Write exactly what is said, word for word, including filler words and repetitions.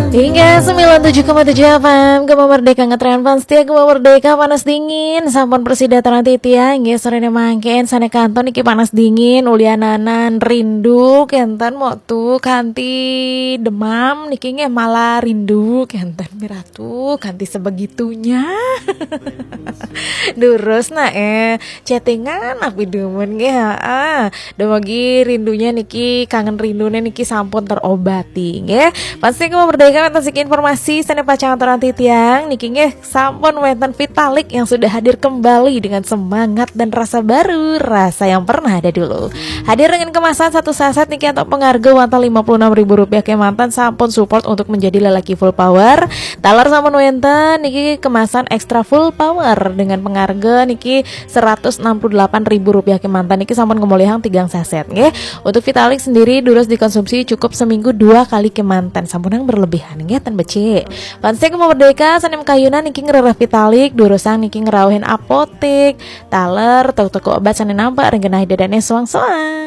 Hingga sembilan tujuh koma tujuh F M, Gema Merdeka ngetren, fans setia Gema Merdeka, panas dingin sampun prasida aturang titiang. Nggih, sorene mangkin sane kantos niki panas dingin, uliananan rindu kenten, mok tu kanthi demam niki nggih, malah rindu kenten, miratu kanthi sebegitunya. Durus nah, eh, chattingan api dumun nggih, heeh. Dumugi rindunya niki, kangen rindune niki sampun terobati nggih. Pasti Gema Merdeka, wenten siki informasi sane pacang aturang titiang niki nggih, sampun wenten Vitalik yang sudah hadir kembali dengan semangat dan rasa baru, rasa yang pernah ada dulu. Hadir dengan kemasan satu saset niki antuk pangarga wantah lima puluh enam ribu rupiah kemanten, sampun support untuk menjadi lelaki full power. Taler sampun wenten niki kemasan extra full power dengan pangarga niki seratus enam puluh delapan ribu rupiah kemanten, niki sampun ngemolihang tigang saset nggih. Untuk Vitalik sendiri durus dikonsumsi cukup seminggu dua kali kemanten, sampunang berlebihan nggih, ten becik. Pasti Gema Merdeka sane makayunan niki ngrereh Vitalik, durusang niki ngrauhin apotik, taler, toko-toko obat sane nampak ring genah ida dane soang-soang.